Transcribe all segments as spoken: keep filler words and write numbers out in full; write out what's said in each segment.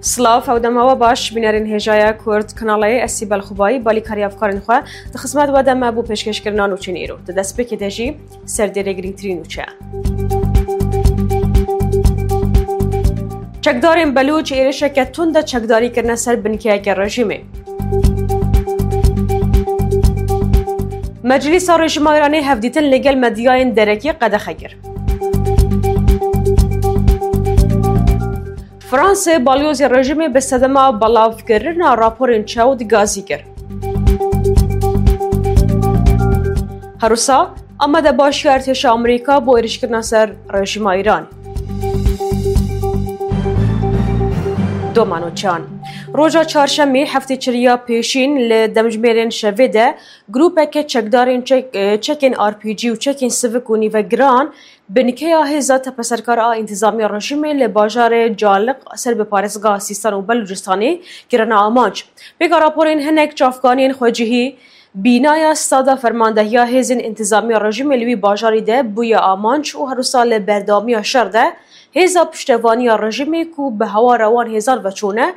Silav, ew dema we baş, bînerên hêjaya Kurd Kanalê, ez Sîbel Xubayî, balîkarî hevkarên xwe di xizmet we de me bo pêşkêşkirina nûçeyên îro. Di destpêkê de jî serdêrê girîngtirîn nûçe. Çekdarên Belûç êrişeke tund de çekdarî kirine ser binkeyeke rejîmê. Meclîsa Rejîma Îranê hevdîtin li gel medyayên derekî qedexe kir. Fransê balyozê rejîmê bi sedema belavkirina raporên çewt gazî kir. Herwisa, amadebaşiya artêşa Amerîka bo êrişkirina ser rejîma Îran. Domanoçan. Roja çarşemê heftê çiriya pêşîn li demjimêrên şevê de grûpeke çekdarên çek-, e, çekên R P G û çekên sivik û nîvegiran binkeya hêza tepeserkar a întîzamiya rejîmê li bajarê Caliq ser bi parêzgeha Sîstan û Belûcistanê kirine amanc. Pêka raporên hinek çavkaniyên xwecihî, bînaya stada fermandehiya hêzên întîzamiya rejîmê li wî bajarî de bûye amanc û herwisa li berdewamiya şer de hêza piştevaniya rejîmê ku bi hawara wan hêzan ve çûne,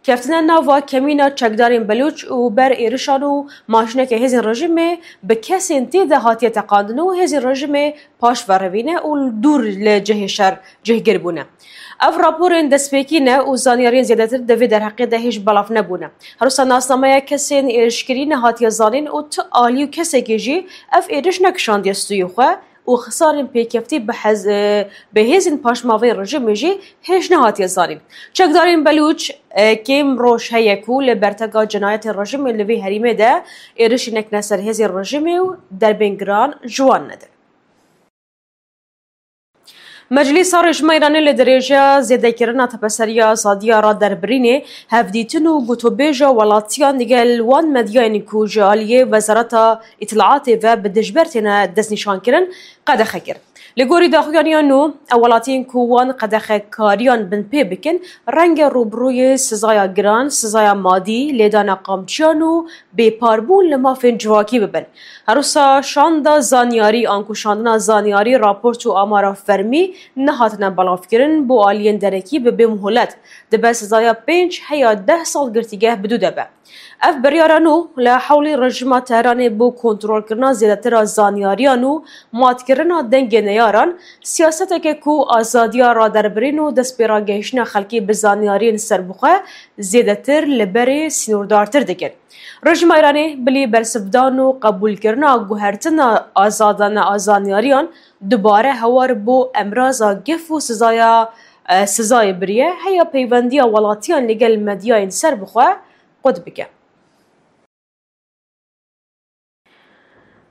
keftine nava kemîna çekdarên Belûç û ber êrişan û maşîneke hêzên rejîmê bi kesên tê de hatiye teqandin û hêzên rejîmê paş ve revîne û dûr li cihê şer cihgir bûne. Ev raporên destpêkî ne û zanyariyên zêdetir di vê derheqê de hêj belav nebûne. Herwisa nasnameya kesên êrişkirî nehatiye zanîn û tu alî û kesekê jî ev êriş nekişandiye stûyê xwe û xisarên pêkeftî bi hez-, e, bi hêzên paşmavên rejîmê jî hêj nehatiye zanîn. Çekdarên Belûç, e, kêm roj heye ku li berteka cinayetên rejîmê li vê herêmê de êrişî nekine ser hêzên rejîmê û derbên giran ji wan nedin. Meclîsa Rejîma Îranê li dirêjeya zêdekirina tepeseriya azadiya raderbirînê hevdîtin û gotûbêja welatiyan digel wan medyayên ku ji aliyê Wezareta Îtilaatê ve bi dijber têne destnîşankirin, qedexe kir. Li gorî daxuyaniya nû, ew welatiyên ku wan qedexekariyan binpê bikin, renge rûbirûyê sizaya giran, sizaya madî, lêdana qamçiyan û bêparbûn li mafên civakî bibin. Herwisa şanda zanyarî, anku şandina zanyarî, raport û amara fermî nehatine belavkirin, bo aliyên derekî bi bê muhlet dibe sizaya pênc heya deh sal girtîgeh bi dû de be. Ev biryara nû li hewlê rejîma Tehranê bo kontrolkirina zêdetir a zanyariyan û matkirina dengê neyaran, siyaseteke ku azadiya raderbirîn û destpêragehiştina xelkê bi zanyariyên serbixwe zêdetir li berê sînordartir dikin. Rejîma Îranê bilî bersivdan û qebûlkirina guhertina azadane a zanyariyan dubare hewar bo emraza gef û sizaya, e, sizayê biriye, heya peyvendiya welatiyan li gel medyayên serbixwe qut bike.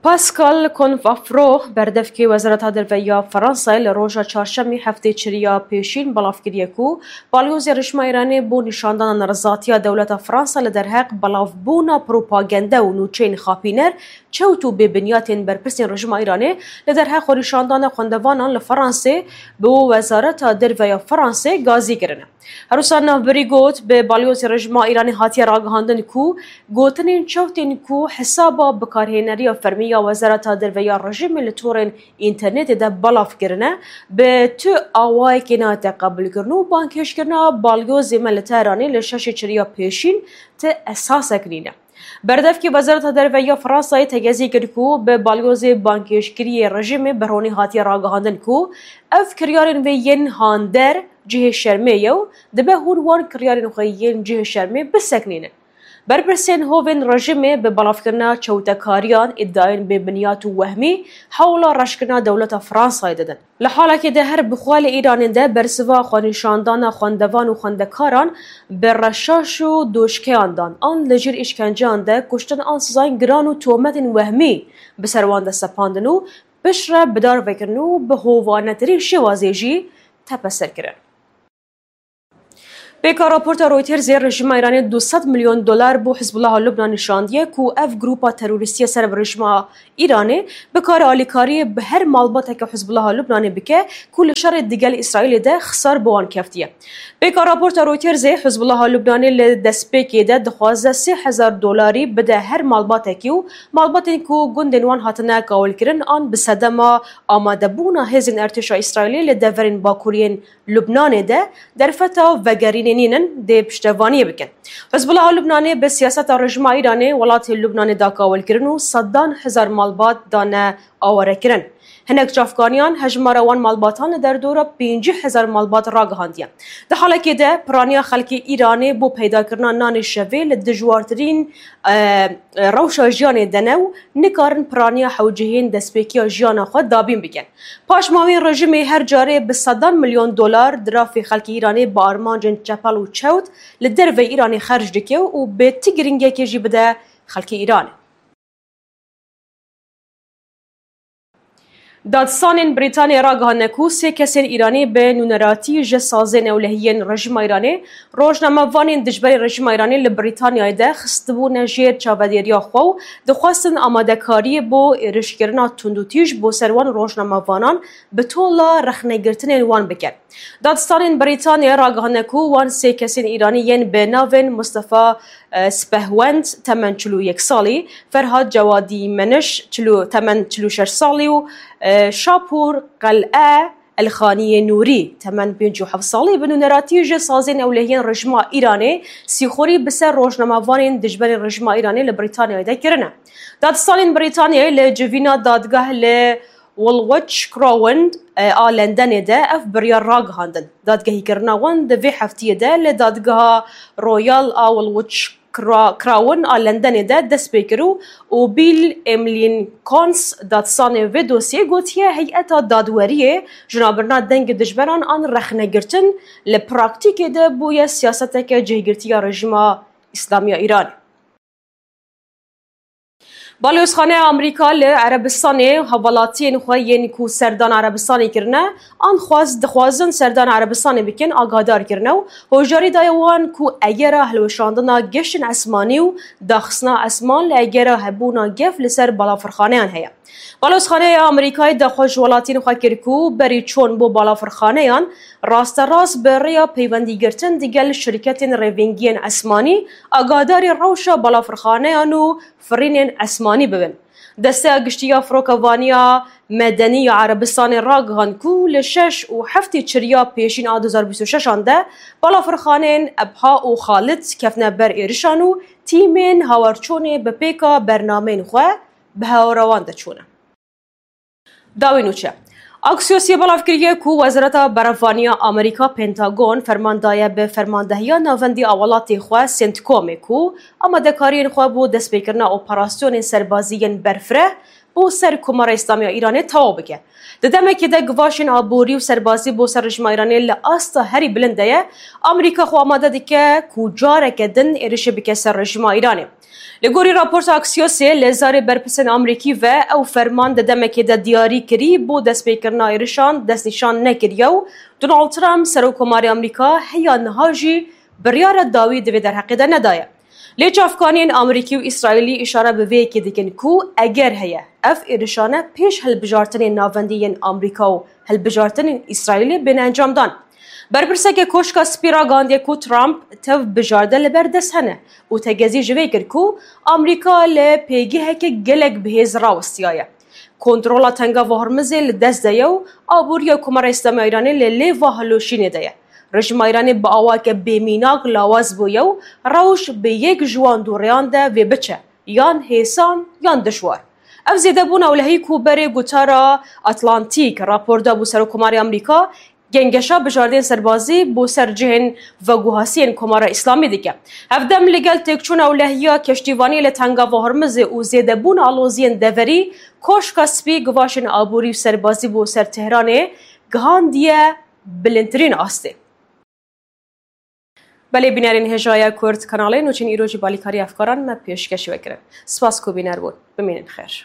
Pascal Confafro, berdevkê Wezareta Derve ya Fransayê, li roja çarşemê heftê çiriya pêşîn belav kiriye ku balyozê rejîma Îranê bo nîşandana nerizatiya dewleta Fransa li derheq belavbûna propagande û nûçeyên xapîner, çewt û bêbinyatên berpirsên rejîma Îranê li derheq xwenîşandana xwendevanan li Fransê bi Wezareta Derve ya Fransê gazî kirine. Herwisa navbirî got, bi balyozê rejîma Îranê hatiye ragihandin ku gotinên çewtên ku hesaba bikarhêneriya fermî ya Wezareta Derve ya rejîmê li torên înternetê de belav kirine, bi tu awayekê nehate qebûlkirin û bangkêşkirina balyozê me li Tehranê li şeşê çiriya pêşîn ti esasek nîne. Berdevkê Wezareta Derve ya Fransayê tegezî kir ku bi balyozê bangkêşkiriyê rejîmê bi ronî hatiye ragihandin ku ev kiryarên vê yên hander cihê şermê ye û dibe hûn wan kiryarên xwe yên cihê şermê biseknînin. Berpirsên hovên rejîmê bi belavkirina çewtekariyan, îdiayên bêbinyat û wehmî hewla reşkirina dewleta Fransayê didin. Li halekê de her bi xwe li Îranê de bersiva xwenîşandana xwendevan û xwendekaran bi reşaş û doşkeyan dan an li jêr îşkenceyan de kuştin an sizayên giran û tometên wehmî bi ser wan de sepandin û piştre bidarvekirin û bi hovanetirîn şêwazê jî tepeser kirin. Pêka raporta Reutersê, rejîma Îranê du sed milyon dolar bo Hizbullaha Lubnanê şandiye ku ev grûpa terorîstî ye ser bi rejîma Îranê bikare alîkariyê bi her malbateke Hizbullaha Lubnanê bike ku li şerê digel Îsraîlê de xisar bi wan keftiye. Pêka raporta Reutersê, Hizbullaha Lubnanê li destpêkê de dixwaze sê hezar dolarî bide her malbatekî û malbatên ku gundên wan hatine kawilkirin an bi sedema amadebûna hêzên artêşa Îsraîlê li deverên bakuriyên Lubnanê de derfeta vegerîn nînin dê piştevaniyê bikin. Hizbullah a Lubnanê bi siyaseta rejîma Îranê welatê Lubnanê dakawil kirin û sedan hezar malbat dane awarekirin. Hinek çavkaniyan hejmara wan malbatan li derdora pêncî hezar malbat ragihandiye. Di halekê de piraniya xelkê Îranê bo peydakirina nanê şevê li dijwartirîn, e, rewşa jiyanê de ne û nikarin piraniya hewcehiyên destpêkiya jiyana xwe dabîn bikin. Paşmawên rejîmê her carê bi sedan milyon dolar dirafê xelkê Îranê bi armancên çepel û çewt li derveyî Îranê xerc dike û bê ti giringekê jî bide xelkê Îranê. Dadistanên Brîtanyayê ragihandine ku sê kesên Îranî bi nûneratî ji sazên ewlehiyên rejîma Îranê, rojnamevanên dijberên rejîma Îranê li Brîtanyayê de xistibûne jêr çavedêriya xwe û dixwestin amadekariyê bo êrişkirina tundûtîj bo ser wan rojnamevanan bi tola rexnegirtinên wan bikin. Dadistanên Brîtanyayê ragihandine ku wan sê kesên Îranî yên bi navên Mustafa, e, Spehwend, temen çil û yek salî, Ferhad Cewadî Meniş, çil û, temen çil û şeş salî û, e, Şapûr Qel'e Elxaniyê Nûrî, temen pêncî û heft salî, bi nûneratî ji sazên ewlehiyên rejîma Îranê sîxurî bi ser rojnamevanên dijberên rejîma Îranê li Brîtanyayê de kirine. Dadistanên Brîtanyayê li civîna dadgeh li Woolwich Crown, e, a Lendenê de ev biryar ragihandin. Dadgehîkirina wan di vê heftiyê de li dadgeha Royal a Woolwich Cra-, Crown a Lendenê de dest pê kir û, û Bill Emlyn Cons, dadsanê vê dosyê, gotiye heyeta dadweriyê ji navbirina dengê dijberan an rexnegirtin li praktîkê de bûye siyaseteke cihgirtiya rejîma Îslamiya Îranê. Balozxaneya Amerîka li Erebistanê hevalatiyên xwe yên ku serdana Erebistanê kirine, an xwaz-, dixwazin serdana Erebistanê bikin, agadar kirine û hojarî daye wan ku egera hilweşandina geştên esmanî û daxistina esman li egera hebûna gef li ser balafirxaneyan heye. Balozxaneya Amerîkayê daxwaz ji welatiyên xwe kir ku berî çûn bo balafirxaneyan rasterast bi rêya peywendîgirtin digel şirketên rêvengiyên esmanî agadarî rewşa balafirxaneyan û firînên esmanî bibin. Desteya Giştî ya Firokevaniya Medenî ya Erebistanê ragihand ku li şeş û heftê çiriya pêşîn a du hezar bîst û şeş an de balafirxaneyên Ebha û Xalid kefne ber êrişan û tîmên hawarçûnê bi pêka bernameyên xwe bi hawara wan de çûne. Dawî nûçe. Axiosê belav kiriye ku Wezareta Berevaniya Amerîka, Pentagon, ferman daye bi fermandehiya navendî a welatê xwe, CENTCOMê, ku amadekariyên xwe bo destpêkirina operasyonên serbazî yên berfireh bo ser Komara Îslamî ya Îranê tewaw bike. Di demekê de givaşên aborî û serbazî bo ser rejîma Îranê li asta herî bilind de ye, Amerîka xwe amade dike ku careke din êrişê bike ser rejîma Îranê. Li gorî raporta Axiosê, li zarê berpirsên Amerîkî ve ew ferman di demekê de diyarî kirî bo destpêkirina êrişan destnîşan nekiriye û Donald Trump, Serokkomarê Amerîka, heya niha jî biryara dawî di vê derheqê de nedaye. Lê çavkaniyên Amerîkî û Îsraîlî îşare bi vê yekê dikin ku eger heye, ev êrişane pêş hilbijartinên navendî yên Amerîka û hilbijartinên Îsraîlê bêne encamdan. Berpirseke Koşka Spî ragihandiye ku Trump tev bijarde li ber dest hene û tegezî ji vê kir ku Amerîka li pêgeheke gelek bihêz rawestiyaye. Kontrola Tengava Hormizê li dest de ye û aboriya Komara Îslamiya Îranê li lêva hilweşînê de ye. Rejîma Îranê bi awayeke bêmînak lawaz bûye û rewş bi yek ji wan du rêyan de vê biçe, yan hêsan yan dijwar. Ev zêdebûna ewlehî ku berê gotara Atlantîk rapor dabû Serokkomarê Amerîka, gengeşa bijardên serbazî bo ser cihên veguhasiyên Komara Îslamî dike. Hevdem li gel têkçûna ewlehiya keştîvaniyê li Tengava Hormizê û zêdebûna aloziyên deverî, Koşka Spî givaşên aborî û serbazî bo ser Tehranê gihandiye bilindtirîn astê. Belê bînerên hêja ya Kurd Kanalê, nûçên îro jî balîkarî efkaran me pêşkêşî we kirin. Spas ku bîner bûn. Bimînin xêr.